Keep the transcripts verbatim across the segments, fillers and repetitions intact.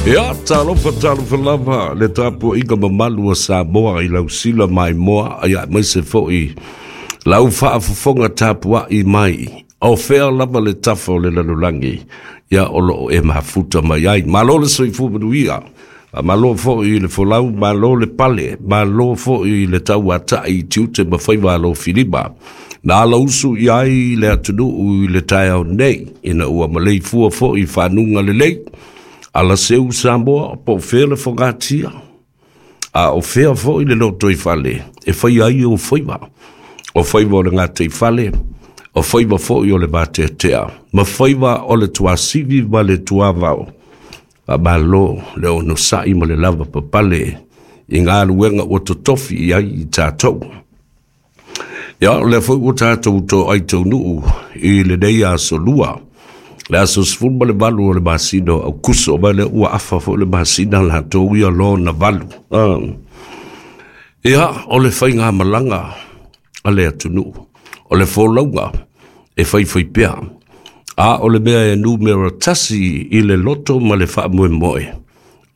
Ia, talofa talofa lava le tapuaiga mamalu a Samoa i lau sila maimoa, ia aemaise foi lau faafofoga tapuai mai. O fea lava le tafa o le lalolagi, ia o loo e mafuta mai ai. Malo le soifua manuia, malo foi le folau, malo le pale, malo foi le tauatai i tiute ma faiva alofilima. Na ala usu i ai le atunuu i le taeao nei, ina ua maleifua foi i fanuga lelei. Ala seu Samoa, po o fea le fogatia, a o fea foi le lotoifale e fai ai o faiva. O faiva o le gataifale, o faiva foi o le vateatea, ma faiva o le tuasivi ma le tuavao. Faamalo le onosai ma le lava papale i galuega ua totofi i ai i tatou. Ia, o lea foi ua tatou toai taunuu i lenei aso lua, le aso sefulu ma le valu o le masina o Aokuso, ma lea ua afa foi le masina latou ia lona valu. Ah. Ia, o le faigamalaga a le atunuu, o le folauga e faifai pea, a o le mea e numera tasi i le loto ma le faamoemoe,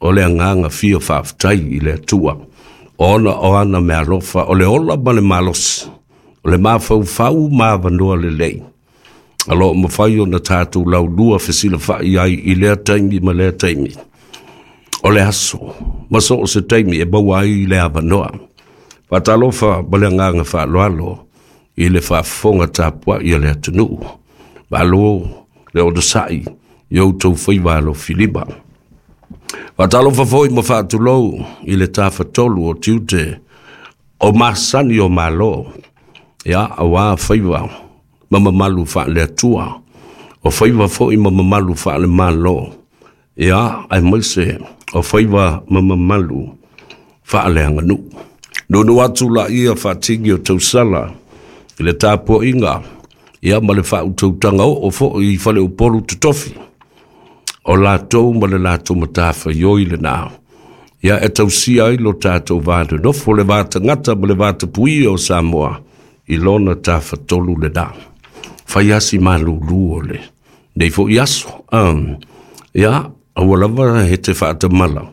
o le agaga fia faafetai i le Atua, ona o ana meaalofa, o le ola ma le malosi, o le mafaufau ma avanoa lelei. Alo mafai ona tatou laulua fesilafai ai i lea taimi ma lea taimi. O le aso, ma so o se taimi e maua ai le avanoa. Faatalofa ma le agaga faaaloalo i le faafofoga tapuai a le atunuu. Malo le onosai i outou faiva alofilima. Faatalofa foi ma faatulou i le tafatolu o tiute o masani o Malo, ia aua faiva ma mamalu faale-Atua, o faiva foi ma mamalu faale-Malo, ia aemaise o faiva ma mamalu faaleaganuu. Nuunuu atu laia faatigi o tausala i le tapuaiga, ia ma le faautautaga oo foi i faleupolu totofi, o latou ma le latou matafaioi lena, ia e tausia ai lo tatou va nonofo, le va tagata ma le va tapuia o Samoa i lona tafatolu lena. Fai asi malulu o le nei foi aso. Um, ia, aua lava he te faatamala,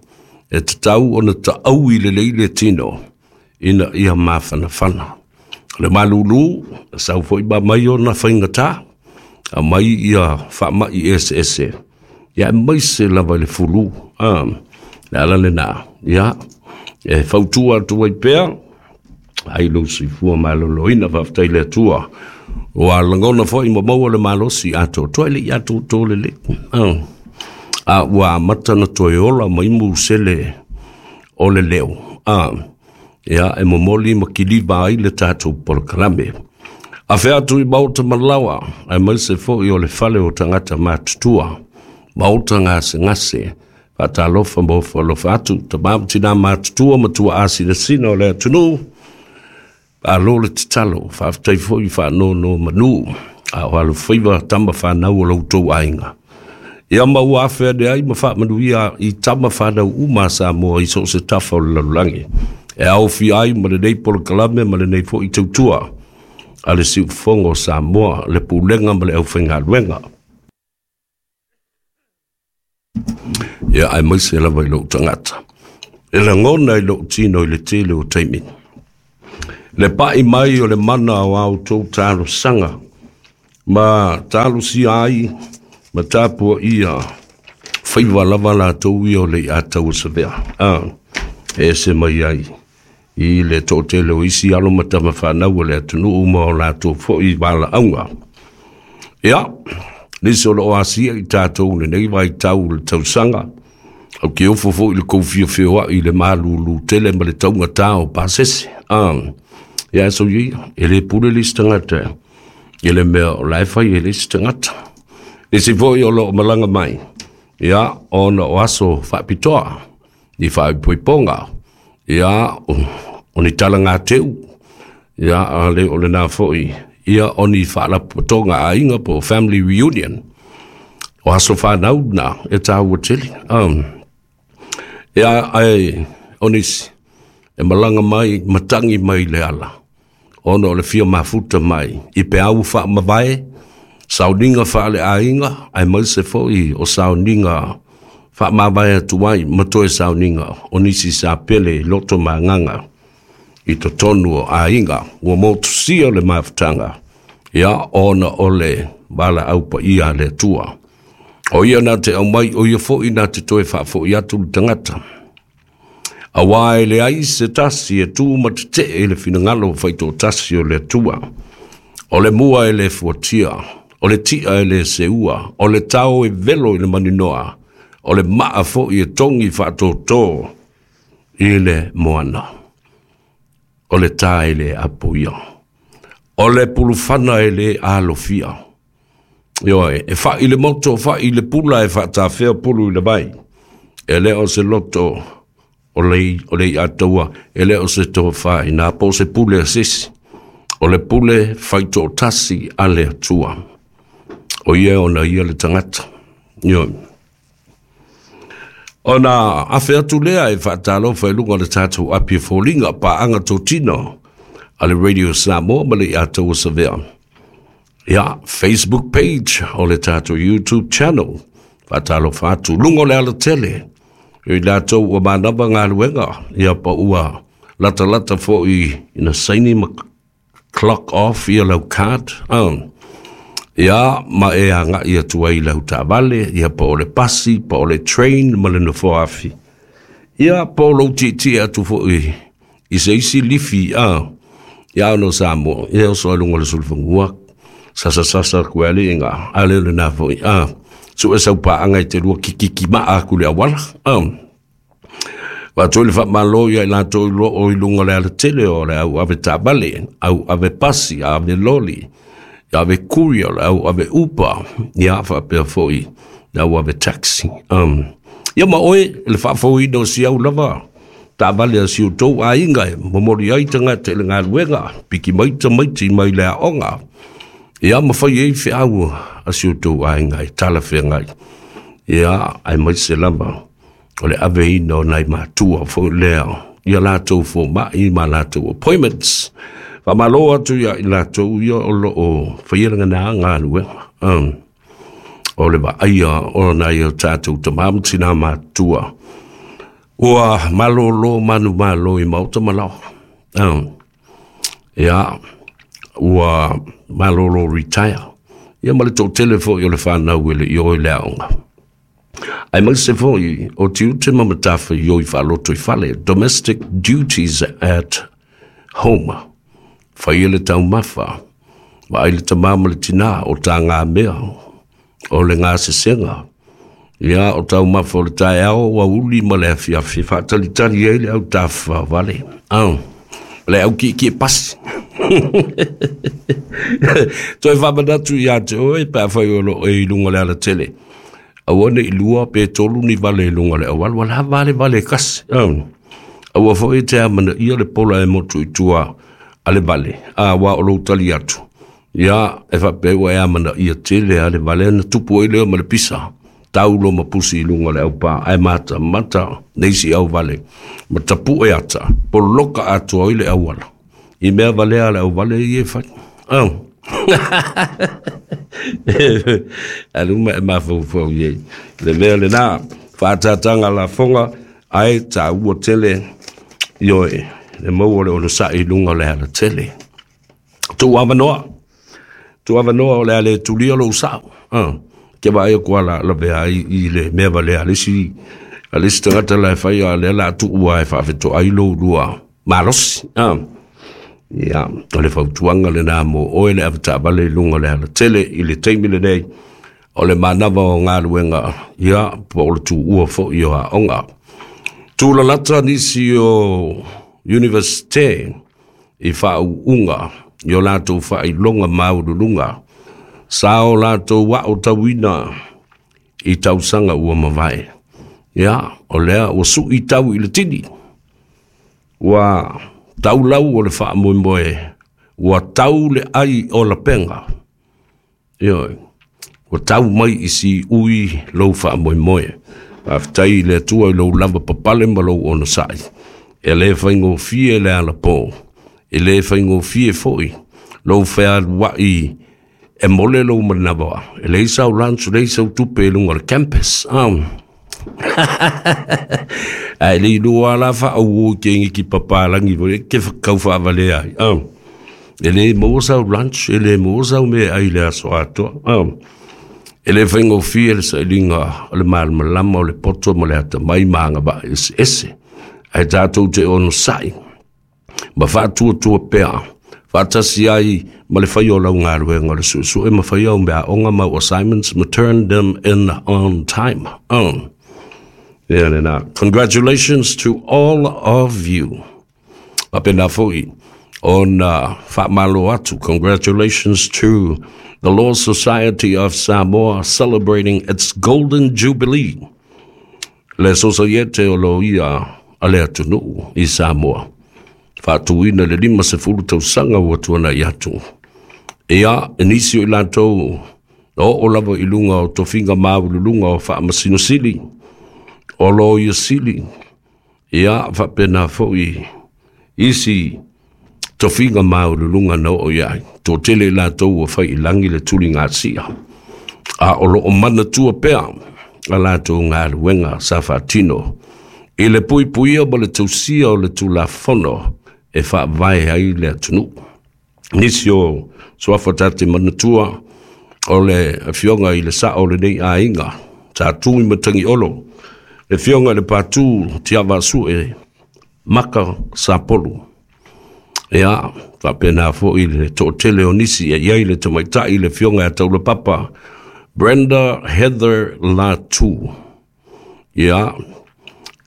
e tatau ona taau i lelei le tino, ina ia mafanafana. O le malulu, sau foi ma mai ona faigata, a mai ia faamai eseese, ia aemaise lava i le fulu. Um, le ala lena, ia, e fautua atu ai pea, ai lou soifua maloloina, faafetai le Atua. Ua lagona foi ma maua le malosi atoatoa e le i atoatoa lelei. Ah. A ua amata na toe ola mai musele o le leo. Ah. Ia, e momoli ma kiliva ai le tatou polokalame. Afe atu i maota malawa, aemaise foi o le fale o tagata matutua, maota gasegase, faatalofa ma ofo alofa atu, tama ma tina matutua ma tuaasinasina o le atunuu. Alo le tatalo, faafetai foi faanonomanu, a o alofaiva tama fanau o lo outou aiga. Ia ma ua afe ane ai ma faamanuia i tama fanau uma a Samoa i so o se tafa o le lalolagi. E aofia ai ma lenei polokalame ma lenei foi tautua a le siufofoga o Samoa, le pulega ma le aufaigaluega. Ia, aemaise lava i lou tagata. E lagona i lou tino i le tele o taimi. Le pai mai o le mana o a outou talosaga, ma talosia ai ma tapuaia faiva lava latou ia o le iatauasavea. Ah, e ese mai ai i le toatele o isi alo ma tama fanau o le atunuu ma o latou foi valaauga. Ia, nisi o loo asia i tatou lenei vaitau o le tausaga, au ke ofo foi le kou fiafioai i le malulu tele ma le taugata o pasese. Ah, ia so ia, e le pule le isi tagata, i le mea o la e fai e le isi tagata. Nisi foi o loo malaga mai, ia, ona o aso faapitoa, i faaipoipoga, ia, o ni talagateu, ia, a le o lena foi, ia, o ni faalapotopotoga aiga po o family reunion, o aso fanau na e tāua tele. Um, ia, ai, o nisi, e malaga mai, matangi mai le ala, ona o le fia mafuta mai, i peau faamavae, sauniga faaleaiga, aemaise foi o sauniga Faamavae atu ai ma toe sauniga o nisi sa pele i loto ma agaga i totonu o aiga ua motusia le mafutaga ia ona o le valaau paia a le Atua. O ia na te aumai, o ia fo'i na te toe faafo'i atu le tagata. Auā e leai se tasi e tu ma tete'e i le finagalo faitoatasi o le Atua. O le mua e lē fuatia, o le ti'a e lē seua, o le tao e velo i le maninoa, o le maa fo'i e togi faatōtō i le moana. O le tā e lē apoia. O le pulufana e lē alofia. Ioe, e fa'i le moto, fa'i le pula e faatafea pulu i le vai. E lē o se loto o le, o le iataua, e lē o se tofā inā po o se pule a sesi. O le pule faitoatasi a le Atua. O ia ona ia le tagata. Ioe. Ona afe atu lea e faatalofa i luga o le tatou api e foliga paaga totino a le Radio Samoa ma le Iataua Savea. Ia, Facebook page o le tatou YouTube channel. Faatalofa atu luga o le alatele. I latou ua manava galuega, ia pa ua latalata fo'i ina saini ma clock off ia lau card. Um, ia ma e aga'i atu ai i lau taavale, ia po o le pasi, po o le train ma le nofoa afi. Ia po o lou tietie atu fo'i i se isi lifi a ia ona o Samoa, ia oso ai luga o le sulufanua, sasasasa atu ai aliiga, a le o lenā fo'i a su'e sau paaga e te lua kikikima'a aku i le auala. A Faatoi le faamalo ia i latou i loo i luga o le alatele o le au ave taavale, au ave pasi, ave loli, ave courier, le au ave Uber, ia faapea fo'i le au ave taxi. Um, ia ma oe le faafouina o si au lava taavale a si outou aiga e momoli ai tagata i le galuega, piki mai tamaiti mai le aoga, ia ma fai ai feau a si outou aiga e talafeagai. Ia, aemaise lava o le aveina o nai matua foi lea ia latou foma'i ma latou appointments. Faamalo atu ia i latou ia o loo faia lagana galuega. Um, o le vaaia o nai o tatou tamā ma tinā matua ua malōlō manumalo i maota ma laoa. Um, ia, ua malōlō retire. Ia ma le toatele fo'i o le fanau e le i o i le aoga. Aemaise fo'i o tiute ma matafaioi faalotoifale, domestic duties at home. Faia le taumafa, vaai le tamā ma le tinā o tagamea, o le gasesega. Ia, o taumafa o le taeao, aoauli ma le afiafi, faatalitali ai le au tafafao Ah, le au kiekie pasi. Toe faamanatu iā te oe pe afai o loo e i luga o le alatele. Aua ne i lua pe tolu ni vale i luga o le auala, ua lava le vale e kasi. Aua fo'i e te amanaia le pola e motu i tua a le vale, auā o lou tali atu. Ia, e faapea ua e amanaia tele a le vale na tupu ai lea ma le pisa. Taulo ma pusi i luga o le aupā, ae matamata nisi au vale. Ma tapu'e ata, poloka atoa ai le auala. I mea valea le auvale ia e fai. Oh. Alu ma e mafaufau i ai. Le mea lenā, faatātāga lafoga, ae taua tele, ioe, le maua o le onosa'i i luga o le alatele. Tuu avanoa, tuu avanoa o le a le tulia lou sa'o. Ah, ke vaai aku ala lavea ai i le mea valea a le isi a le isi tagata la e fai a lea la tuua e faafetoai lou lua malosi. Ah. Ia, o le fautuaga lenā mo oe le avetaavale i luga o le alatele i le taimi lenei o le manava o galuega, ia, po o le tuua fo'i o aoga. Tulalata nisi o Universite i faauuga i o latou faailoga maualuluga sa o latou aotauina i tausaga ua mavae. Ia, o lea ua su'i tau i le tini. Ua tau lau o le faamoemoe, ua tau le ai o lapega. Ioe, ua tau mai i siui lou faamoemoe. Faafetai i le Atua i lou lava papale ma lou onosai. E lē faigofie le alapō, e lē faigofie fo'i lou fealua'i e mole lou manava. E leai sau lunch, leai sau tupe i luga o le campus. Um, Ae le iloa la faauo i ke ki papalangi foi ke kau faavalea ai. Ah. E le maua sau lunch, e le maua sau mea ai le aso atoa. Ah. E le faigofie le sailiga o le malamalama o le poto ma le atamai ma agavaa eseese. Ae tatou te onosai ma faatuatua pea faatasi ai ma le faia o lau galuega o le suesue ma faia au meaaoga ma au assignments ma turn them in on time. Oh. Ia lena. Congratulations to all of you. Faapena foi ona faamalo atu. Congratulations to the Law Society of Samoa celebrating its Golden Jubilee. Le Sosaiete o Loia a le atunuu i Samoa. Faatuina le lima sefulu tausaga ua tuanai atu. Ia, e nisi o i latou na oo lava i luga o tofiga maualuluga o faamasino sili, o loia sili, ia faapena foi isi tofiga maualuluga na oo i ai. Toatele i latou ua fai i lagi le tuligasia. A o loo manatua pea a latou galuega sa faatino i le puipuia ma le tausia o le Tulafono e faavae ai le atunuu. Nisi o suafa ta te manatua o le afioga i le sao o lenei aiga, Sa Tuimatagi Olo, le afioga i le Patu Tiavaasue Maka Sapolu. Ia, faapena foi le toatele o nisi e i ai le tamaitai le afioga ia Taulapapa Brenda Heather Latu. Ia,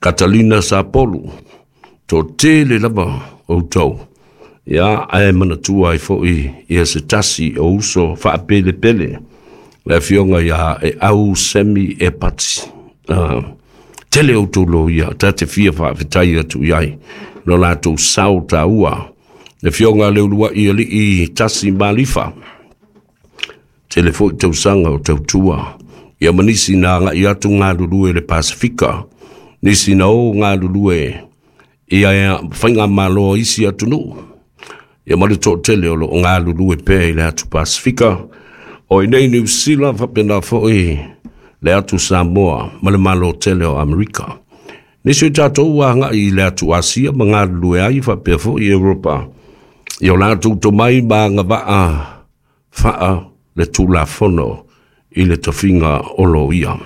Katalina Sapolu, toatele lava outou. Ia, ae manatua ai foi ia se tasi o uso faapelepele, le afioga ia e au Semi Epati. Uh, tele outou loia, ta te fia faafetai atu i ai, lo latou sao taua. Le afioga le uluai alii Tasi Malifa, tele foi tausaga o tautua. Ia ma nisi na agai atu galulue le Pasifika, nisi na o galulue ia faigamalo a isi atunuu. Ia ma le toatele o loo galulue pea i le atu Pasifika, o i nei Niu Sila faapena foi le atu Samoa ma le Malo tele o Amerika. Nisi o tatou ua agai i le atu Asia ma galulue ai faapea foi Europa. I o latou tomai ma agavaa faa le Tulafono i le tofiga o loia.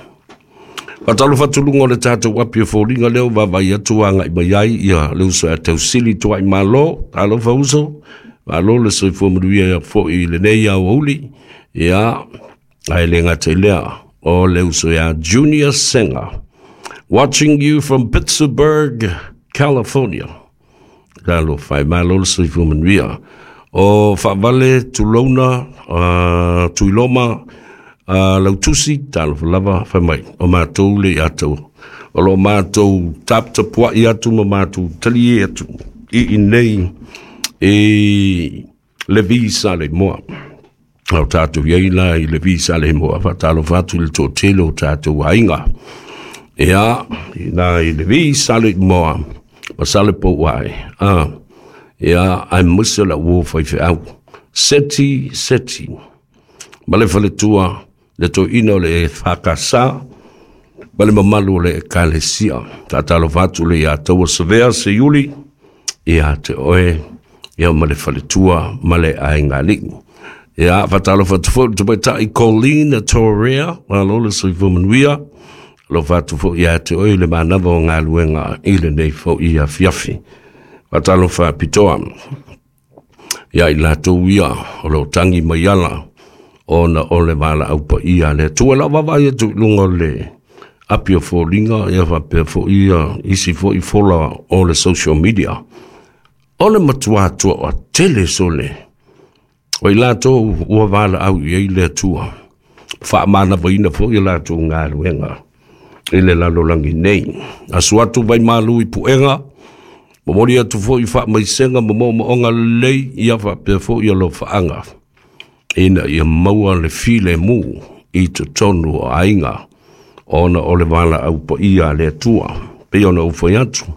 Faatalofa atu luga o le tatou api o foliga lea ua vaavaai atu agai mai ai ia le uso ia Tausili Tuai Malo. Talofa uso, malo le soifua manuia foi i lenei aoauli. Ia, ae le gata i lea, o le uso ia Junior Senga. Watching you from Pittsburgh, California. Talofa e, malo le soifua manuia. O Faavale Tulouna, uh, Tuiloma, uh, Lautusi, talofa lava, fai mai, o matou le atou. O lo matou taputapuai atu ma matou talie atu i inei e le visa le moa. O tatou iai la i le visa le moa, faatalofa atu i le toatele o tatou aiga. Ia, i na i le visa le moa, ma sale pou ai. Ah, ia, aemaise la ua faifeau. Seti, seti. Ma le faletua, le toeaina o le F K S, ma le mamalu o le Ekalesia. Faatalofa atu le ia taua Savea Seiuli, ia te oe, ia ma le faletua ma le aiga alii. Ia, faatalofa atu foi le tamaitai Colleen Torea, malo le soifua manuia. Alofa atu foi ia te oe le manava o galuega i lenei foi afiafi. Faatalofa pitoa ia i latou ia o loo tagi mai ala ona o le valaau paia a le Atua. Lau vaavaai atu i luga o le api o foliga, ia faapea foi ia isi foi fola o le social media. O le matuā toatele sole o i latou ua valaau i ai le Atua. Faamanavaina foi ia latou galuega i le lalolagi nei. Asu atu vai malu i puega, momoli atu foi faamaisega ma moomooga lelei, ia faapea foi alofaaga ina ia maua le filemu i totonu o aiga ona o le valaau paia a le Atua. Pei ona ou fai atu,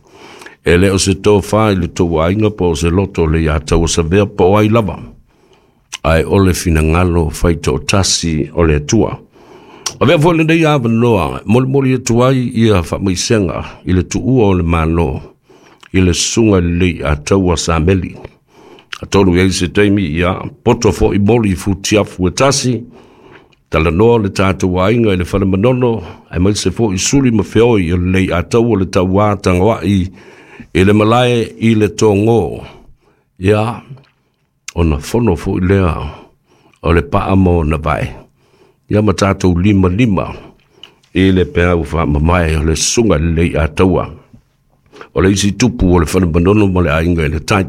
e le o se tofa i le tou aiga po o se loto le ia taua savea po o ai lava, ae o le finagalo faitoatasi o le Atua. Avea foi lenei avanoa molimoli atu ai ia faamaisega i le tuua o le Malo i le susuga i le Leiataua Sameli. Atonu i ai se taimi ia poto foi moli i futiafu e tasi, talanoa le tatou aiga i le fale manono, aemaise foi suli ma feoi o le Leiataua le tauā tagoai i le malae i le togō. Ia, ona fono foi lea o le paa ma ona vae. Ia ma tatou lima lima i le peau faamamae o le susuga i le Leiataua. O le isi tupu o le fale manono ma le aiga i le tai.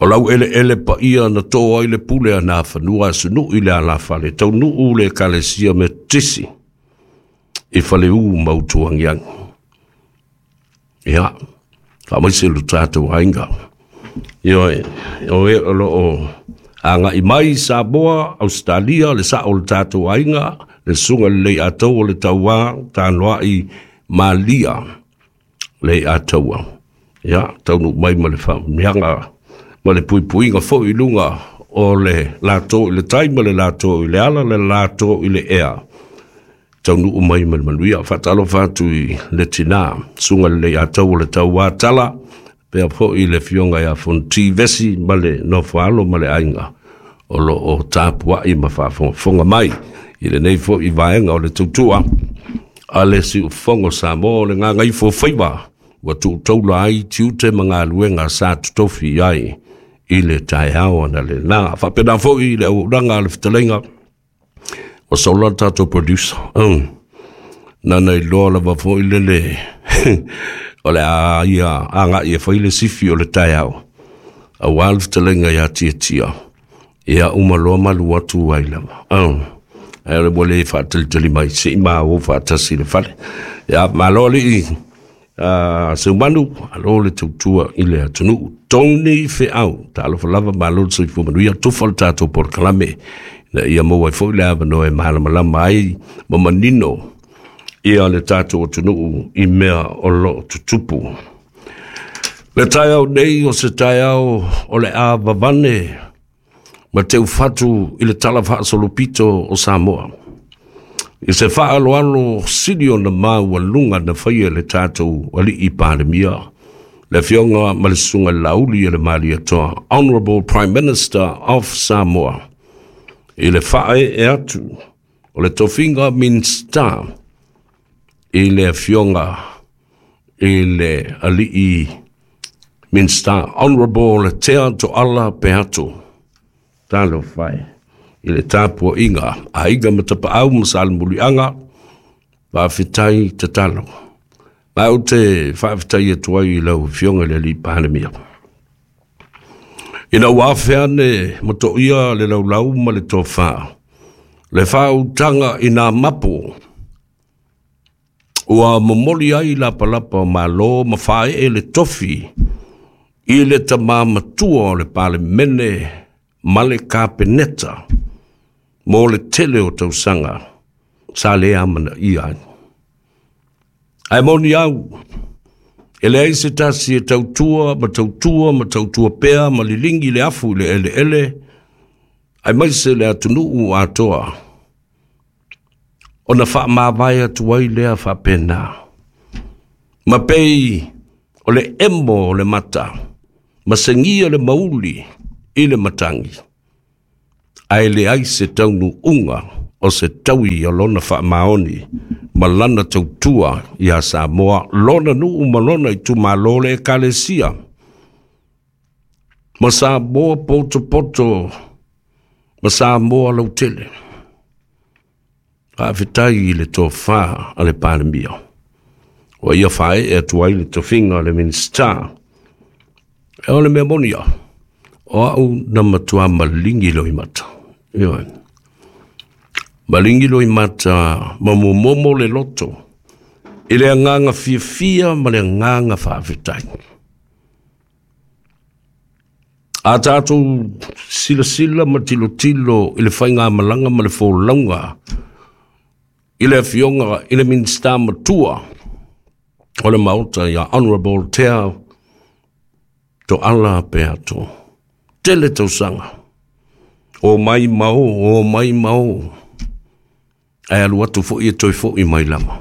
O lau eleele paia na tō ai le pule a nā fanua asunuu i le alafale, taunuu le Ekalesia Metotisi i Faleu ma Utuagiagi. Ia, faamaise lo tatou aiga. Ioe, o e o loo agai mai Samoa, Australia, le sao o le tatou aiga, le susuga i le Leiataua o le tauā tanoai Malia Leiataua. Ia, taunuu mai ma le faamanuiaga ma le puipuiga foi i luga o le latou i le tai ma le latou i le ala, le latou i le ea. Taunuu mai ma le manuia. Faatalofa atu i le tinā, susuga i le Leiataua o le tauā tala, pea foi le afioga ia Fonoti Vesi ma le nofoalo ma le aiga o loo tapuai ma faafogafoga mai i lenei foi vaega o le tautua a le siufofoga o Samoa o le gagaifo faiva ua tuutaula ai tiute ma galuega sa totofi i ai i le taeao ana lena. Faapena foi i le auaunaga a le fetalaiga o Sola le tatou producer. Mm. Nana iloa lava foi lele o le a ia agai e fai le sifi o le taeao aua le fetalaiga ia Tiatia. Ia uma loa malu atu ai lava. Mm. Ae o le ua le faatalitali mai se i maua faatasi le fale. Ia malo alii uh, Seumanu, alo le tautua i le atunuu. Tony Feau, talofa lava malo le soifua manuia, tufa le tatou polokalame ina ia maua ai foi le avanoa e malamalama ai ma manino ia le tatou atunuu i mea o loo tutupu. Le taeao nei o se taeao o le a vavane ma teufatu i le tala faasolopito o Samoa. I se faaaloalo sili ona maualuga na faia e le tatou alii Palemia, le afioga ma le susuga i le Lauli o le Malietoa, Honourable Prime Minister of Samoa, i le faaee atu o le tofiga Minista i le afioga i le alii Minista, Honourable Tea Toala Peato. Talofa e i le tapuaiga aiga ma tapaau ma salemuliaga, faafetai tatalo. Ma ou te faafetai atu ai i lau afioga i le alii Palemia. Ina ua afe ane ma toia le laulau ma le tofā, le faautaga i nā mapo, ua momoli ai lapalapa o malo ma faaee le tofi i le tamā matua o le Palemene ma le Kapeneta mo le tele o tausaga sa le amanaia ai. Ae moni au, e leai se tasi e tautua ma tautua ma tautua pea ma liligi le afu i le eleele, aemaise le atunuu atoa, ona faamavae atu ai lea faapena. Ma pei o le emo o le mata, ma segia le mauli i le matagi, ae leai se taunuuga o se taui o lona faamaoni ma lana tautua ia Samoa, lona nuu ma lona itumalo le Ekalesia ma Samoa potopoto ma Samoa lautele. Faafetai i le tofā a le Palemia ua ia faaee atu ai le tofiga o le Minista. E o le mea moni ia, o au na matua maligi loimata. Ioe. Maligi loimata ma momomo le loto i le agaga fiafia ma le agaga faafetai. A tatou silasila ma tilotilo i le faigamalaga ma le folauga i le afioga i le Minista matua o le Maota ia Honourable Tea Toala Peato. Tele tausaga. O mai ma o, o mai ma o. Ae alu atu fo'i e toe fo'i mai lava.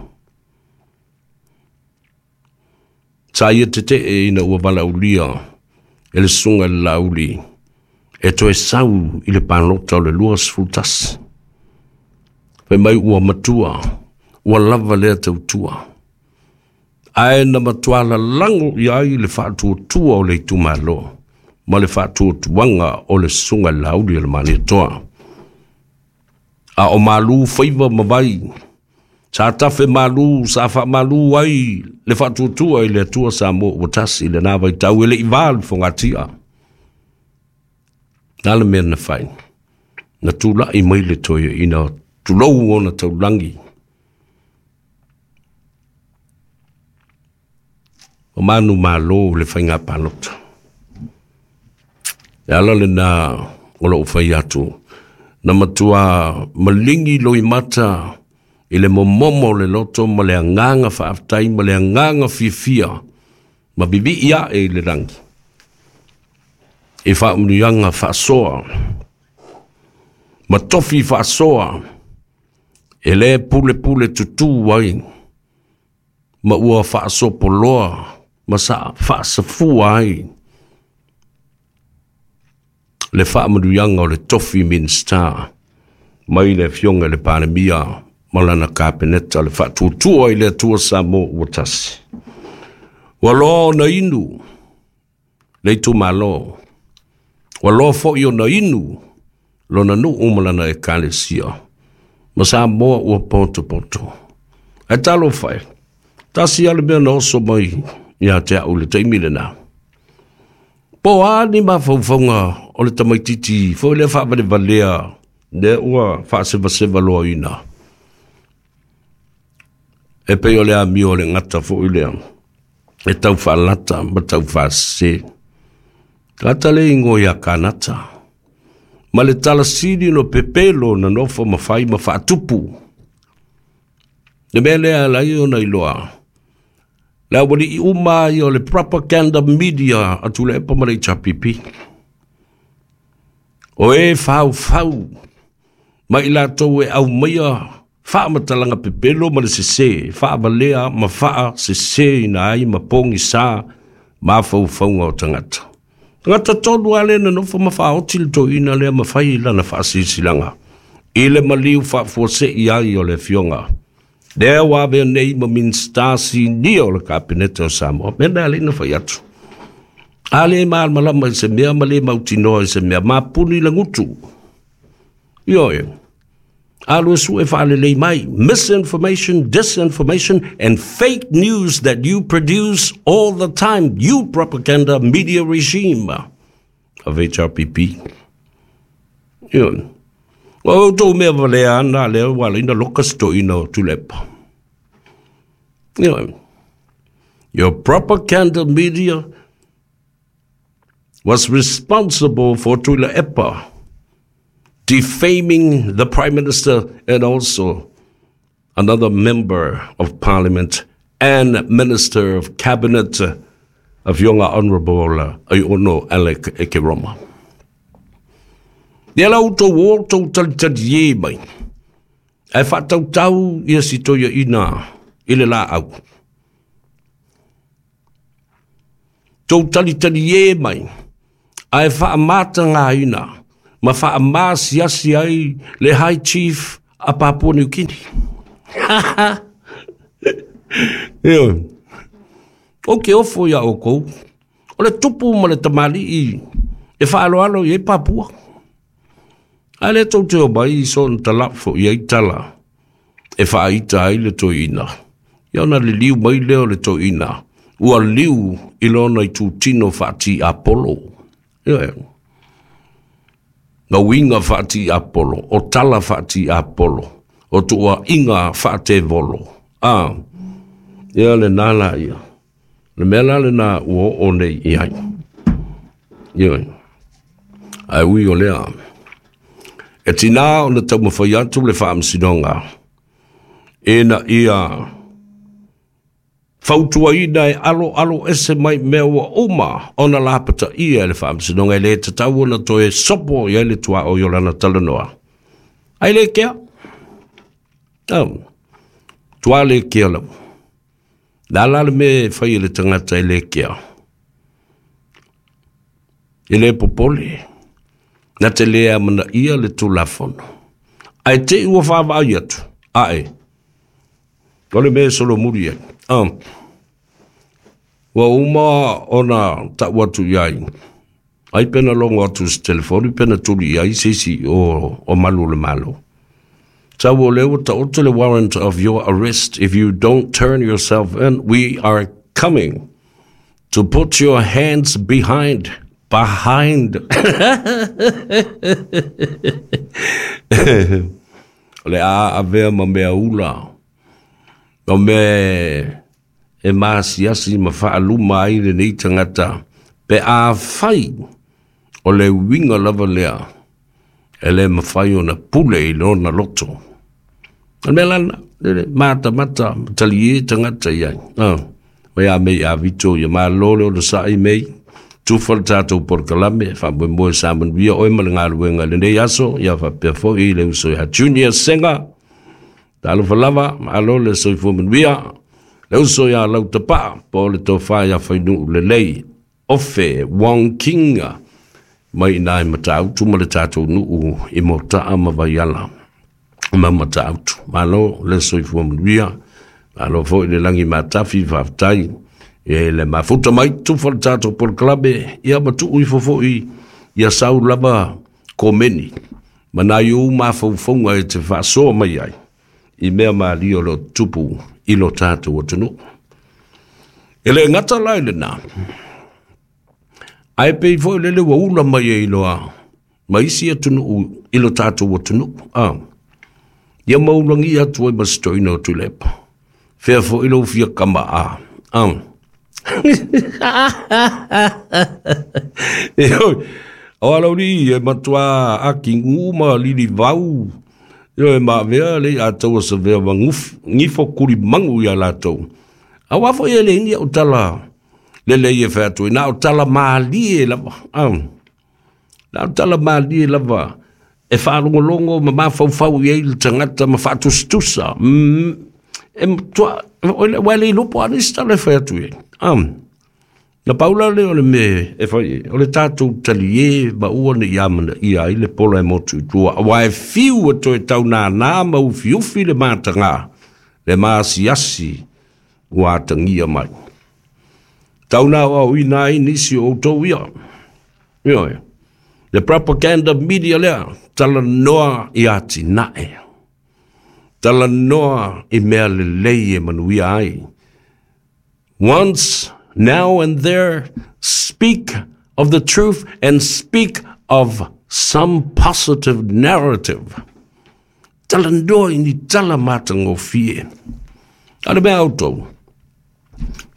Sa ia tete'e ina ua valaulia e le susuga i le Laauli e toe sau i le palota o le lua sefulu tasi. Fai mai ua matua, ua lava lea tautua. Ae na matua lalago i ai le faatuatua o le itumalo ma le faatuatuaga o le susuga i le Laauli o le Malietoa. A o malu faiva ma vai, sa tafe malu, sa faamalu ai le faatuatua i le Atua Samoa ua tasi i lena vaitau e le i va le fogatia. Na le mea na fai, na tula'i mai le toeaina tulou ona taulagi. O manu malo le faiga palota. E ala lena o lou fai atu, na matua maligi loimata i le momomo o le loto ma le agaga faafetai ma le agaga fiafia ma vivii ae i le lagi. E faamanuiaga faasoa ma tofi faasoa e le pulepule tutū ai ma ua faasopoloa ma sa faasafua ai le faamanuiaga o le tofi Minista mai le afioga i le Palemia ma lana kapeneta le faatuatua i le Atua Samoa ua tasi. Ua loa ona inu le itumalo, ua loa fo'i ona inu lona nuu ma lana ekalesia, ma Samoa ua potopoto. Ae talofa e, tasi lava le mea na oso mai ia te au i le taimi lena. Po o a ni mafaufauga o le tamaitiiti foi lea faavalevalea lea ua faasevaseva loaina. E pei o le amio o le gata foi lea e tau faalata ma tau faasese. Gata le igoa ia Kanata. Ma le talasili no pepelo na nofo ma fai ma faatupu. Le mea lea ala ai ona iloa. Le aualii uma ai o le propaganda media a Tuilaepa ma le H R P P. O e faufau ma i latou e aumaia faamatalaga pepelo ma le sese, faavalea ma faaseseina ai ma pogisa mafaufauga o tagata. Tagata tonu lava lea na nofo ma faaoti le toeaina lea ma fai lana faasilasilaga i le maliu faafuasei ai o le afioga. Lea ua avea nei ma Minista sinia o le Kapeneta o Samoa. Mea na alei na fai atu. A le malamalama i se mea ma le mautinoa i se mea, mapuni le gutu. Ioe. Alu e sue faalelei mai. Misinformation, disinformation and fake news that you produce all the time. You propaganda media regime of H R P P. Ioe. O outou mea valea ana lea ua ala ina loka se toeaina o Tuilaepa. Ioe. Your propaganda media was responsible for Tuilaepa defaming the Prime Minister and also another member of Parliament and Minister of Cabinet of Yonga Honorable Aiono Alec Ekeroma. Ia la outou o outou talitali e mai. Ae faatautau ia si toeaina i le laau. Tou talitali e mai. Ae faamatagaina ma faamasiasi ai le High Chief a Papua New Guinea. Ioe. O ke ofo ia oukou. O le tupu ma le tamalii e faaloalo i ai Papua. Ae le tou te o mai i sona talafo i ai tala e faaita ai le toeaina. Ia ona liliu mai lea o le toeaina. Ua liu i lona itutino faati-apolo. Ioe. Na uiga faati-apolo, o tala faati-apolo, o tuuaiga faatevolo. A, ia lena la ia. Le mea la lena ua oo nei i ai. Ioe. Ae ui o lea. E tinā ona taumafai atu le faamasinoga ina ia fautuaina e alo alo ese mai mea ua uma ona lapataia e le faamasinoga e le tatau ona toe sopo i ai le tuaoi o lana talanoa. Ai le kea. Oh. Tua le kea lau. La la le me fai le tagata e le kea. E le popole. Na te lea mana ia le tulafono. Ai te ua whaavai atu. Ae. O le mea solo muri ai. Ah. Ua uma ona tau atu iai. Ai pena longo atu se telefoni, pena tuli iai se isi o, o malu o le malo. Tau o leo ta le warrant of your arrest. If you don't turn yourself in, we are coming to put your hands behind. Behind. O le a avea ma mea ula. O me e maasiasi ma whaaluma ai le nei tangata. Pe a whai o le winga lava lea. E le mawhai o na pule i lona loto. O mea lana, le mata mata, tali e tangata iai. Ah, wai a mei a vito ia maa lole o le sa'i mei. Tufa le tātou porokalame, wha moe sa manuia oe ma le galuega i lenei aso, ia faapea foʻi le uso ia Junior Senga. Talofa lava, malo le soifua manuia. Le uso ia Lautapaa, po o le tofā ia Fainuu lelei. Ofe Wong King, mai ina i Matautu ma le tātou nuu i Motaa ma Vaiala. Ma Matautu. Malo le soifua manuia. Malo foʻi le lagi matafi faafetai. E le mafuta mai tufa le tātou porokalame, ia matuu ifo foʻi ia sau lava komeni. Ma nai ou mafaufaunga e te faasoa mai ai. I mea malia o lo tupu i lo tātou atunuu. E le gata la i lenā. Ae pei foi lele ua ula mai e iloa. Ma isi atunuu i lo tātou atunuu. Ah. Ia maulagi atu ai ma se toeaina o Tuilaepa. Fea foi lou fia kama a. Ah. E oi, o alauli e matua aki ma lili vau. Io e maavea le a taua sa vea ma ngifo kuri mangu ia latou. A wafo e le ni o tala le le e whatu. Na o tala maalie lava. Ah. Na o tala maalie lava. E whaalongolongo ma mafaufau i ei le tangata ma whaatustusa. Mm. E matua, o le ilopo anis tala e whatu e. Ah. Na paula le o le me e whai, o le tātou tali e ma ua ni ia mana ia i le pola e motu i tua. Wa e fiu e toe tau nā nā ma ufi ufi le mātanga, le maasiasi ua atangia mai. Tau nā au i nā i nisi o tau ia. Ioe. Le propaganda media lea, tala noa i ati nae. Tala noa i mea lelei e manuia ai. Once, now and there, speak of the truth and speak of some positive narrative. Tala noa i ni tala matangofie. A le mea autou.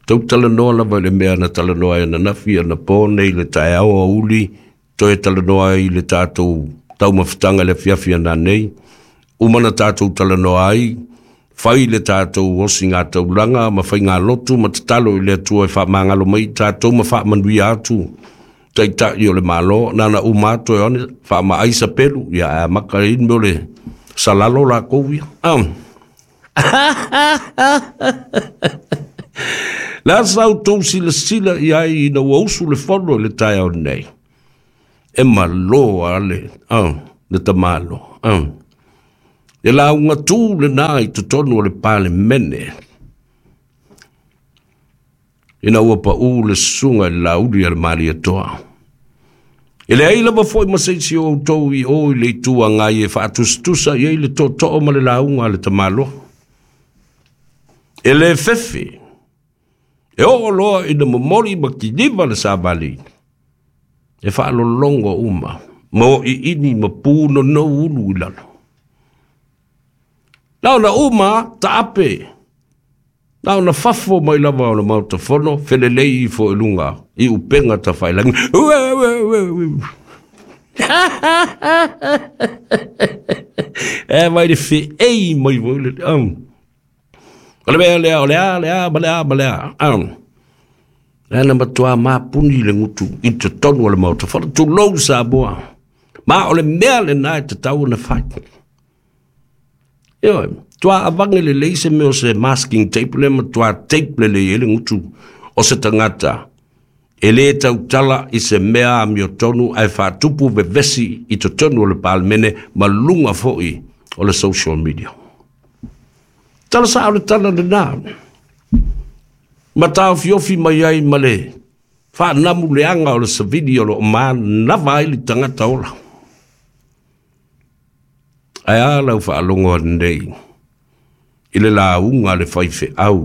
Tau tala noa lava i le mea na tala noa e na nafi na pō nei le taeao a uli, toe tala noa i le tātou taumafataga le afiafi ana nei. Uma na tātou tala noa ai, whai le tātou osi ngā taulanga, ma whai ngā lotu, ma tatalo i le atua e whaamangalo mai, tātou ma whaamanuia atu, taitai o le malo, nana uma atu e one, whaama ai sa pelu, ia a maka in me o le salalo la kou ia. Ah. La sau tou sila sila i ai ina ua usu le fono i le taeao nei. E malo a le, ah, le tamalo. Ah. E la unga tū le nā i totonu o le palemene. Ina ua pa u le sunga i la uli a le malia toa. E le ai lava foi ma seisi o outou i o i le itua ngai e whaatustusa i ei le tōtoo ma le launga a le tamalo. E le fefe. E oo loa ina momoli ma kiniva le savali. E whaalolongo uma. Ma o i ini ma pūno no ulu i lalo. Lau na uma, taape. Lau na fafo mai lava o le mauta fono, felelei ifo e lunga, i upenga ta whailangi. Ue, ue, ue, ue. E mai le whiei mai voi le. Um. O le mea lea, o le a, le a, ma le a, ma le a. Um. Le ana matua mapuni le ngutu i te tonu o le mauta fono, tulou Samoa. Ma o le mea le nā e te tau na whai. Ioe, toa avange lelei se mea o se masking tape le ma toa tape lelei e le gutu o se tagata e lē tautala i se mea amiotonu ae faatupu vevesi i totonu o le Palemene ma luga foʻi o le social media. Tala saʻo le tala lenā ma taofiofi mai ai ma le faanamu leaga o le savili o loo manava ai le tagata ola. Ae a lau faalogo anei i le lauga a le faifeau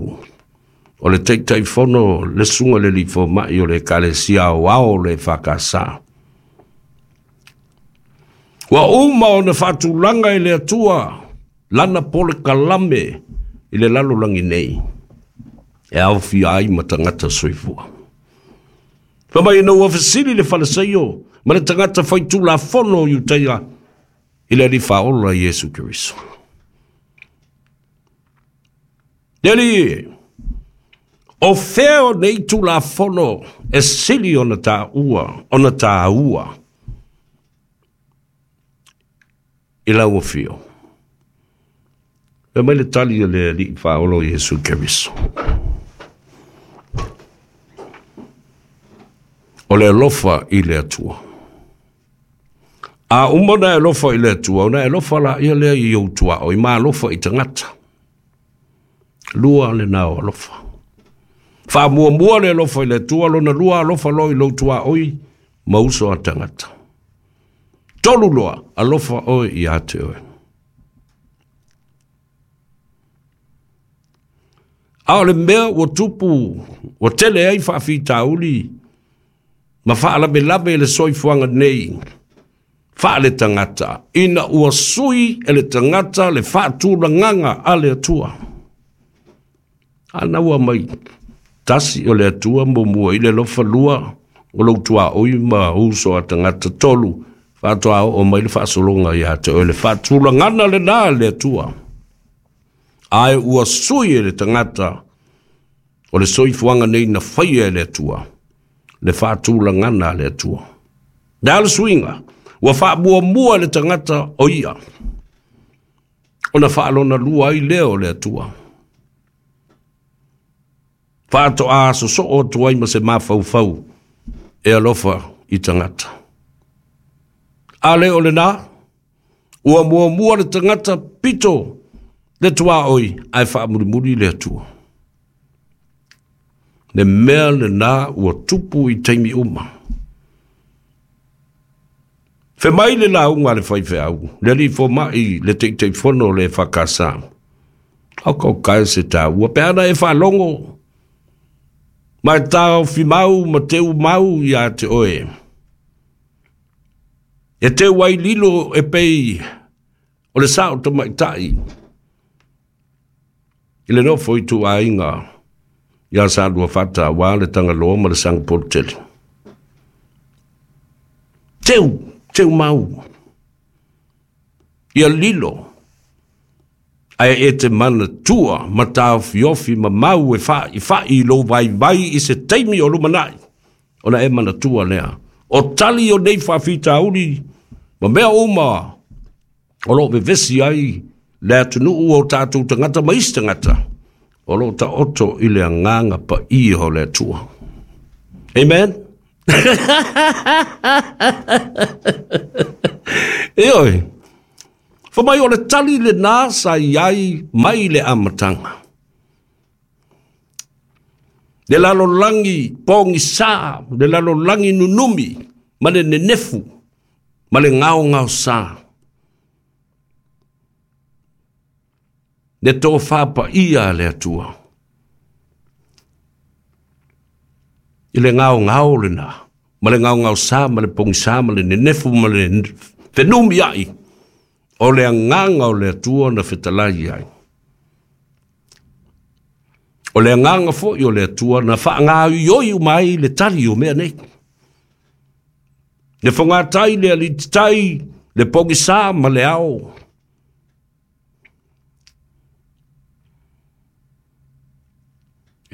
o le Taitaifono le susuga le alii fomai o le Ekalesia Aoao le F K S. Ua uma ona faatulaga e le Atua lana polokalame i le lalolagi nei e aofia ai ma tagata soifua. Fa mai ina ua fesili le Faleseio ma le tagata faitulafono o Iutaia i le Alii Faaola Iesu Keriso. Le Alii, o fea o nei tulafono e sili ona tāua, ona tāua i lau afio? E mai le tali a le Alii Faaola Iesu Keriso. O le alofa i le Atua. A uma ona e alofa i le Atua, ona e alofa laia lea i ou tuaoi ma alofa i tagata. Lua lenā o alofa. Faamuamua le alofa i le Atua, lona lua alofa loa i lou tuaoi ma uso a tagata. Tolu loa, alofa oe ia te oe. A o le mea ua tupu, ua tele ai faafitauli ma faalavelave i le soifuaga nei faaletagata, ina ua sui e le tagata le faatulagaga a le Atua. Ana ua mai tasi o le Atua, muamua i le alofa, lua o lou tuaoi ma uso a tagata, tolu faatoa oo mai le faasologa ia te oe. Le faatulagana lenā le Atua, ae ua sui e le tagata o le soifuaga nei na faia e le Atua le faatulagana a le Atua. Le a le suiga? Ua faamuamua le tagata o ia, ona faalona lua ai lea o le Atua, faatoa sosoo atu ai ma se mafaufau e alofa i tagata. A le o lenā, ua muamua le tagata, pito le tuaoi, ae faamulimuli le Atua. Le mea lenā ua tupu i taimi uma. Fe mai le lauga a le faifeau, le alii fomai, le Taitaifono le F K S. Au kau kai se tāua, pe ana e faalogo, ma e taofi mau ma teu mau ia te oe. E teu ai lilo e pei o le sao tamaitai i le nofo i tuaiga ia Saluafata auā le Tagaloa ma le Sagapolutele. Teu, teu mau. Ia lilo, ae e te manatua ma taofiofi ma mau e fa'ifa'i i lou vaivai i se taimi o lumana'i, ona e manatua lea. O tali o nei faafitauli ma mea uma o loo vevesi ai le atunuu o tatou tagata ma isi tagata, o loo taoto i le agaga paia o le Atua. Amen. Ioe. Fa mai o le tali lenā sa i ai mai le amataga. Le lalolagi pogisā, le lalolagi nunumi, ma le nenefu, ma le gaogaosā. Le tofā paia a le Atua. I le gaogao lenā, ma le gaogaosā, ma le pogisā, ma le nenefu, ma le fenumiaʻi, o le agaga o le Atua na fetalai ai. O le agaga foʻi o le Atua na faagaoioi uma ai le tali o mea nei. Le fogatai, le alititai, le pogisā ma le ao.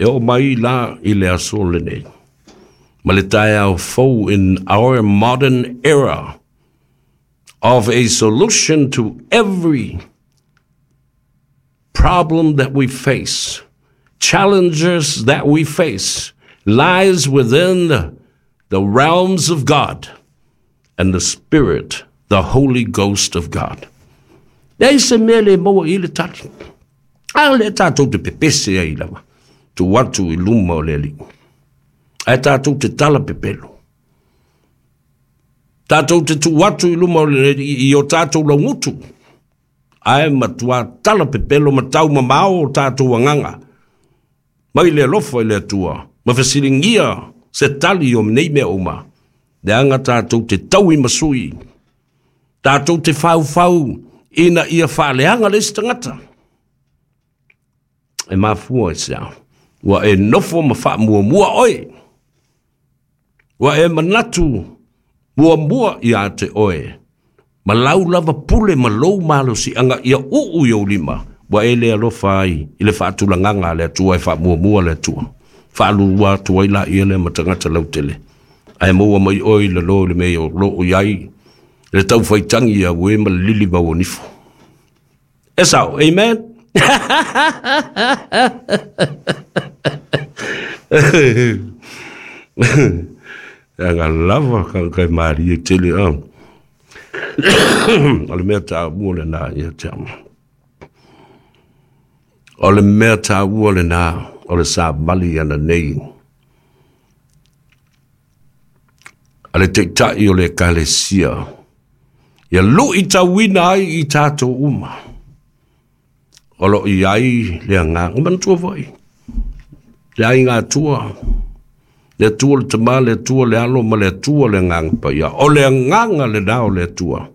E oo mai la i le aso lenei ma le taeao fou, in our modern era of a solution to every Problem that we face, challenges that we face, lies within the, the realms of God and the Spirit, the Holy Ghost of God. Leai se mea le maua i le tali. A le tātou te pepese ai lava, tu atu i luma o le Alii. Ae tātou te tala pepelo. Tātou te tu atu i luma o le Alii i o tātou laugutu. Ae matua tala pepelo ma tau mamao o tātou agaga. Mai le alofa i le Atua, ma fesiligia se tali o nei mea uma. Leaga tātou te tau i masui. Tātou te faufau ina ia faaleaga le isi tagata. E mafua i se a. Ua e nofo ma faamuamua oe. Ua e manatu muamua ia te oe. Ma lau lava pule ma lou malosiaga ia uu i ou lima. Ua e le alofa ai i le faatulagaga a le Atua e faamuamua le Atua. Faalua atu ai laia lea ma tagata lautele. Ae maua mai oe i lalo i le mea o loo i ai le taufaitagi ia ue ma le lili mauanifo. E sao, amen? Aga lava ka kai marie tele a. O le mea taua lena ia te ama. O le mea taua lena o le savali ana nei. A le taitai o le ekalesia. Ia lui tauina ai i tātou uma. O lo i ai le agaga. Manatua foi. Le aiga Atua. Le Atua le Tama, le Atua le Alo, ma le Atua le Agaga Paia. O le agaga lena o le Atua.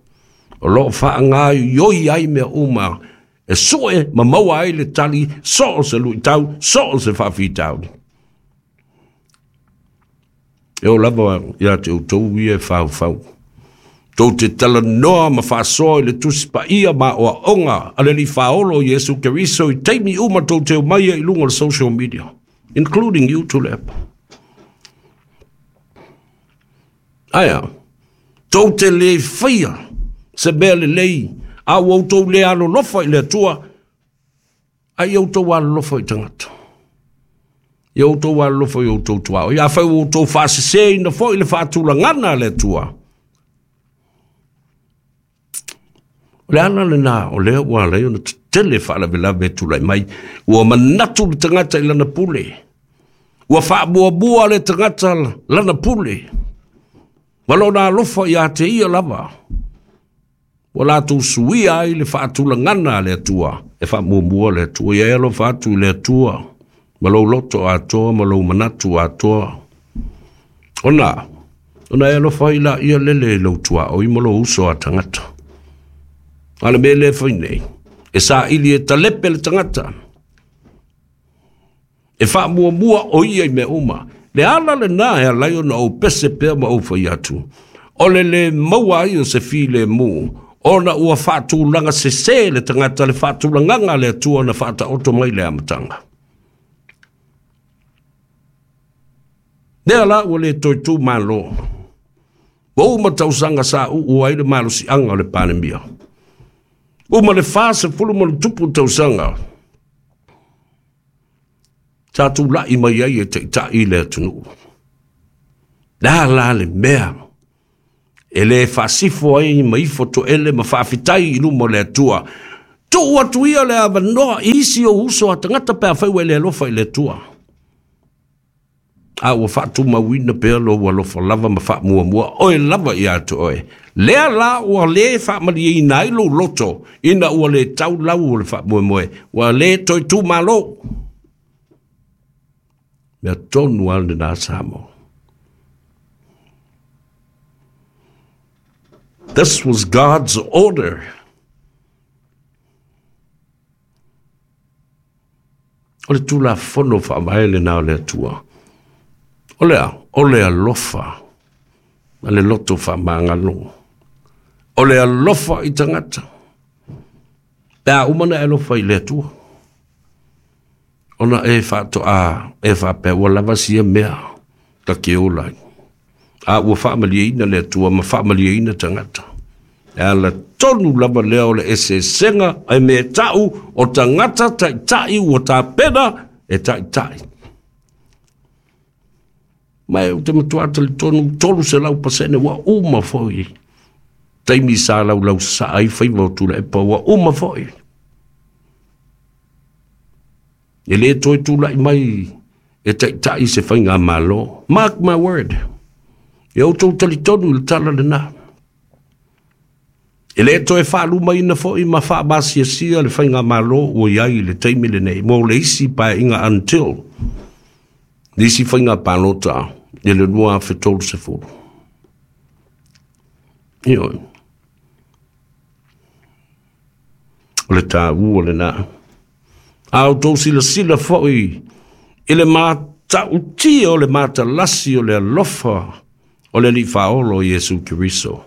O loo faagaioi ai mea uma. E sue ma maua ai le tali, so o se luitau, so o se faafitauli. E o lava ia te outou ia e faufau. Tou te talanoa ma faasoa i le Tusi Paia ma oaoga a le Alii Faaolo Iesu Keriso i taimi uma tou te omaia i luga o le social media, including you Tuilaepa. Aia, tou te le faia se mea lelei, a ua outou le alolofa i le Atua, a ia outou alolofa i tagata. Ia outou alolofa i outou tuaoi. Ia afai ua outou faasese foi le faatulagana a le Atua. O le ala lena o lea ua ala ai ona tetele faalavelave e tulai mai. Ua manatu le tagata i lana pule. Ua faamuamua le tagata lana pule. Ma lona alofa ia te ia lava. Ua latou suia ai le faatulagana a le Atua. E faamuamua le Atua. Ia e alofa atu i le Atua. Ma lou loto atoa, ma lou manatu atoa. Ona, ona e alofa ai la ia lele i lou tuaoi ma lou uso a tagata. A le mea lea fai nei, e saili e talepe le tagata. E faamuamua o ia i mea uma. Le ala lena e alai ona ou pese pea ma ou fai atu. O le le maua ai o se filemu, ona ua faatulaga sese le tagata le faatulagaga le Atua na faataoto mai le amataga. Lea la ua le toe tu malo. Ua uma tausaga sa uu ai le malosiaga o le Palemia. Uma le fasefulu ma le tupu tausaga. Sa tulai mai ai e taitai le atunuu. La la le mea. E le faasifo ai ma ifo toele ma faafitai i luma o le Atua. Tuu atu ia le avanoa i isi o uso a tagata pe afai ua e le alofa i le Atua. A ua faatumauina pea lou alofa lava ma faamuamua oe lava ia te oe. Lea la ua le faamalieina ai lou loto ina ua le tau lau o le faamoemoe. Ua le toe tu malo. Mea tonu a lena Samoa. This was God's order. O le tulafono faavae lena o le Atua. O le a, o le alofa, ma le loto faamagalo. O le alofa i tagata. Pe a uma na e alofa i le Atua. Ona e faatoa, e faapea ua lava sia mea ta ke ola ai. A ua faamalieina le Atua ma faamalieina tagata. E ala tonu lava lea o le eseesega ai me ta'u o tagata taʻitaʻi ua tapena e taʻitaʻi. Ma e ou te matuā talitonu tolu selau pasene ua uma foʻi taimi sa laulau sasaa ai faiva o Tuilaepa ua uma foʻi. E lē toe tulaʻi mai e taʻitaʻi se faiga mālō. Mark my word. E outou talitonu i le tala lenā. E lē toe faalumaina foʻi ma faamasiasia le faiga mālō ua iai i le taimi lenei mo le isi paeaiga until le isi faiga palota i le lua afe tolu sefulu. Ioe. O le tāua lenā. A outou silasila foʻi i le matautia o le matalasi o le alofa o le Alii Faaolo Iesu Keriso.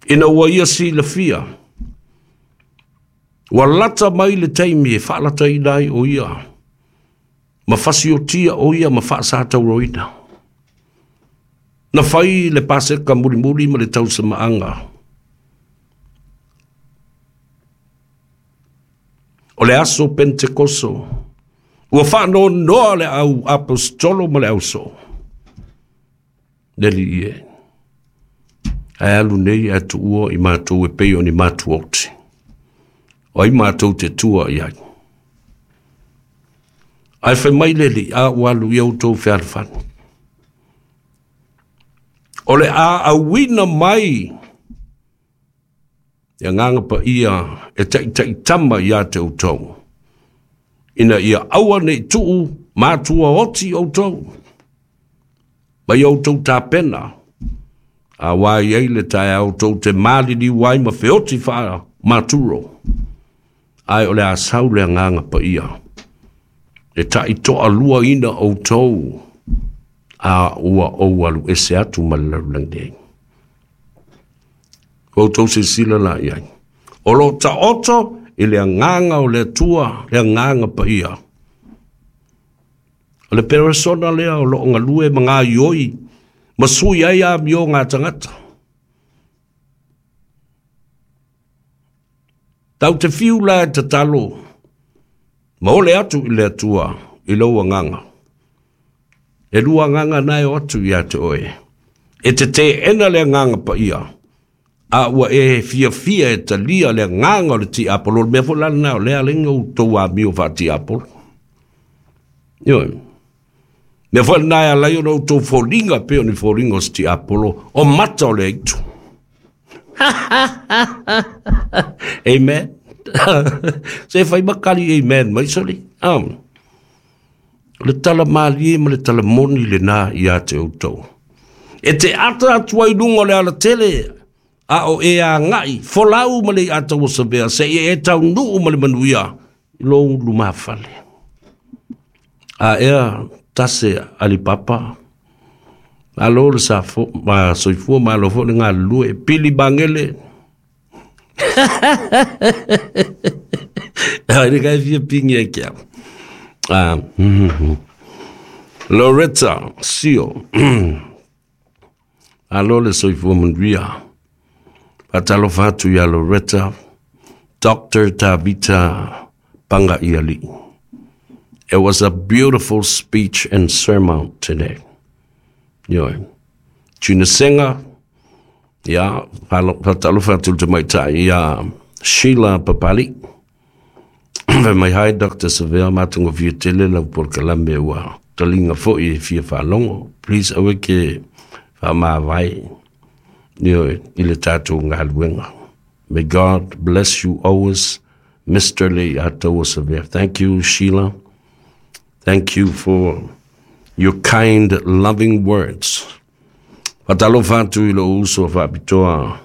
Ina ua ia silafia, ua lata mai le taimi e faalataina ai o ia, ma fasiotia o ia ma faasatauroina. Na fai le paseka mulimuli ma le tausamaaga. O le aso Pentekoso, ua faanoanoa le au apostolo ma le ausoo. Le Alii e, ae alu nei ae tuua i matou e pei o ni matuaoti. O ai matou te tua i ai. Ae fai mai le Alii, a ua alu ia outou fealofani. O le a auina mai le agaga paia e taʻitaʻitama iā te outou, ina ia aua nei tuu matua oti outou, mai outou tapena, a wā i ai le taeao tou te maliliu ai ma feoti faamaturo, ae o le a sau le agaga paia, e taʻitoaluaina outou, a ua ou alu ese atu ma le lalolagi nei. Ua outou silasila la i ai. O lo o taoto i le agaga o le Atua, le agaga paia. O le peresona lea o loo galue ma gaoioi ma sui ai amioga a tagata. Tau te fiu la e tatalo ma ole atu i le Atua i lou agaga. E lua agaga na e o atu ia te oe. E te teena le agaga paia, a ua e fiafia e talia le agaga o le tiapolo. O le mea foʻi la lenā o lea ala outou amio faatiapolo. Ioe. Mea foʻi lenā e ala ai ona outou foliga pei o ni foliga o se tiapolo o mata o le aitu. Amen. Se fai makali amen mai soli. Um. O le tala malie ma le tala moni lenā ia te outou. E te ata atu ai luga o le alatele, a o e agai, folau ma le Iatauosavea, seia e taunuu ma le manuia i lou lumafale. A ea tase Alipapa, malo le safo, ma soifua malo foʻi le galulue, pili magele. Ai le kai fia pingi ai ke au. Ah, Loretta Sio, alo le soifua manuia. Faatalofa atu iā Loretta, Doctor Tavita Pagaialii. It was a beautiful speech and sermon today. Ioe. Tuna Senga, ia, faatalofa atu i le tamaitai ia Sheila Papali. Fai mai hai Doctor Savea matagofie tele lau polokalame ua taliga foʻi e fia faalogo. Please aua ke faamavae ioe i le tatou galuega. May God bless you always, Mister Leiataua Savea. Thank you, Sheila. Thank you for your kind, loving words. Faatalofa atu i lou uso faapitoa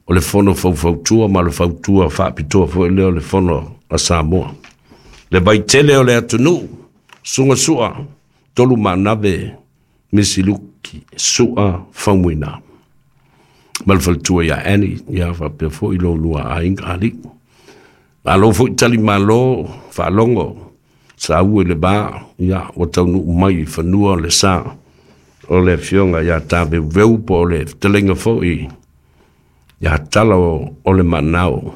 o le fono faufautua ma le fautua faapitoa foʻi lea o le fono a Samoa. Le vaitele o le atunuu, suga sua, tolu manave, Misiluki, sua faumuina. Ma le faletua ia Annie, ia faapea foʻi lou lua aiga alii. Malo foʻi tali malo, faalogo, saua i le vā, ia ua taunuu mai i fanua le sa o le afioga ia Taveuveu po o le fetalaiga foʻi Ia tala o, o le manao.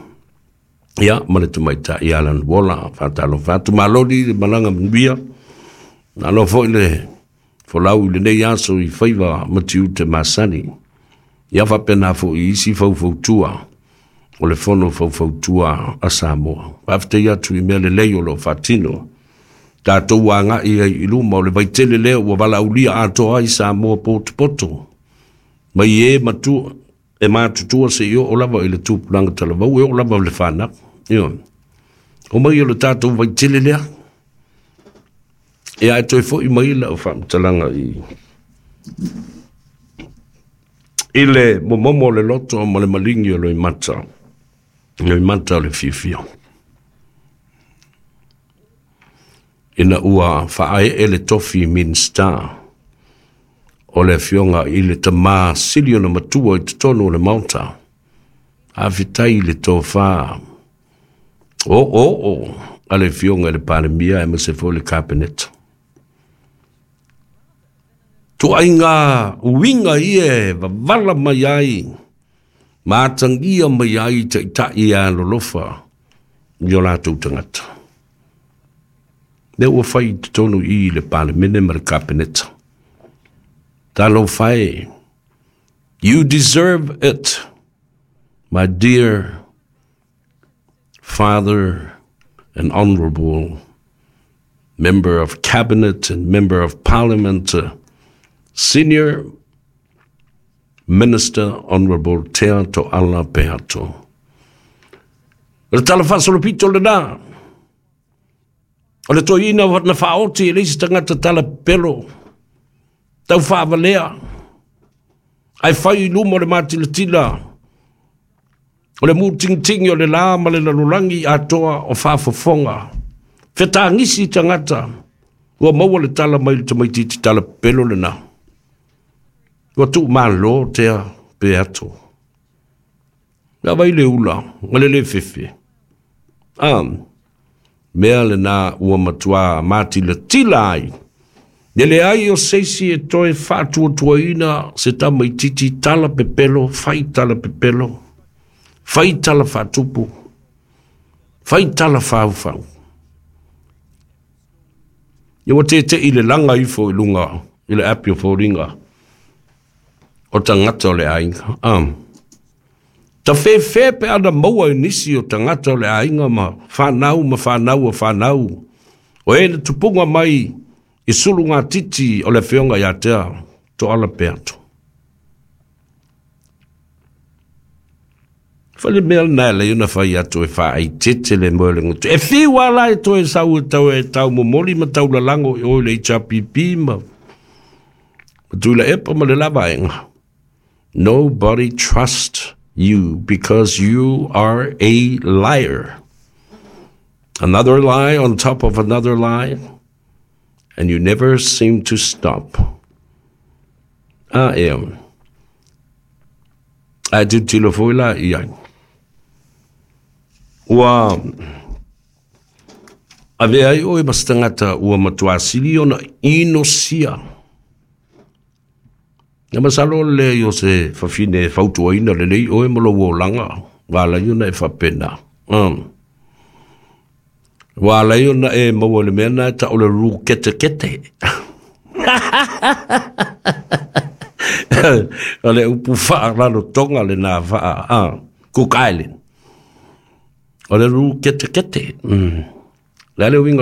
Ia, ma le tamaita i Alan Wola, whātalo whātu maloni le malanga manuia. Nalo foi le folau i lenei aso i faiva matiute masani. Ia whapena fo i isi faufautua o le fono faufautua a Samoa. Whawhite atu i mea le lei o lo whatino. Tātou anga i ai i luma o le vaitele lea ua walaulia atoa ai Samoa poto poto. Mai e matua, e matutua se i o lava i le tupulaga talavou e o lava le whanau. Io. O mai o le tātou vaitele lea. E ai toi foi mai la o whaamtalanga i i le momomo o le loto ma le malingi o le mata. Le mata o le fiafia. Ina ua whaae e le tofi minsta o le fionga i le tamā sili ona matua i totonu o le maota. A fitai i le tofā. O, o, o, a le fionga i le palemia e mase fo le kapeneta. Tuaiga uiga ia e vavala mai ai, ma atagia mai ai taʻitaʻi alolofa i o latou tagata. Lea ua fai i totonu i i le palemene ma le kapeneta. Talofa e. You deserve it, my dear father and honorable member of cabinet and member of parliament, uh, senior minister honorable Tea Tooala Peato. O le tala faasolopito lenā. O le toeaina na faaoti e le isi tagata tala pelo. Tau faavalea. Ae fai i luma o le matilatila. O le mutingtingi o le la ma le lalolagi atoa o faafofoga. Fetagisi tagata. Ua maua le tala mai le tamaititi tala pelo lenā. Ua tuu malo Tea Peato. Ia vai le ula, ma le le fefe. Ah, mea lenā ua matuā matilatila ai. E leai o se isi e toe faatuatuaina se tamaititi tala pepelo, fai tala pepelo, fai tala faatupu, fai tala faufau. Ia ua teteʻi le laga ifo i luga i le api o foliga o tagata o le aiga. Um. Tafefe pe ana maua i nisi o tagata o le aiga ma whanau ma whanau o whanau. O e na tupunga mai i sulu ngā titi o le whionga ia Tea Tooala Peato. Whale mea nā le una whai atu e wha ai tete le moe le ngutu. E whiu ala e toe sau e tau e tau momoli ma tau lalango i oi le H R P P ma ma tui la epa ma le lavaenga. Nobody trusts you because you are a liar. Another lie on top of another lie, and you never seem to stop. I am. I do tilo foi la i ai. Ua ave ai oe ma se tagata ua matuā sili ona inosia. Ia masalo le o se fafine e fautuaina lelei oe ma lou olaga, ua alai ona e faapena. Um. Ua alai ona e maua le mea na e ta'o le ruketekete. O le upu faalalotoga lenā faa ah, Cook Island. O le ruketekete. Mm. Le a le uiga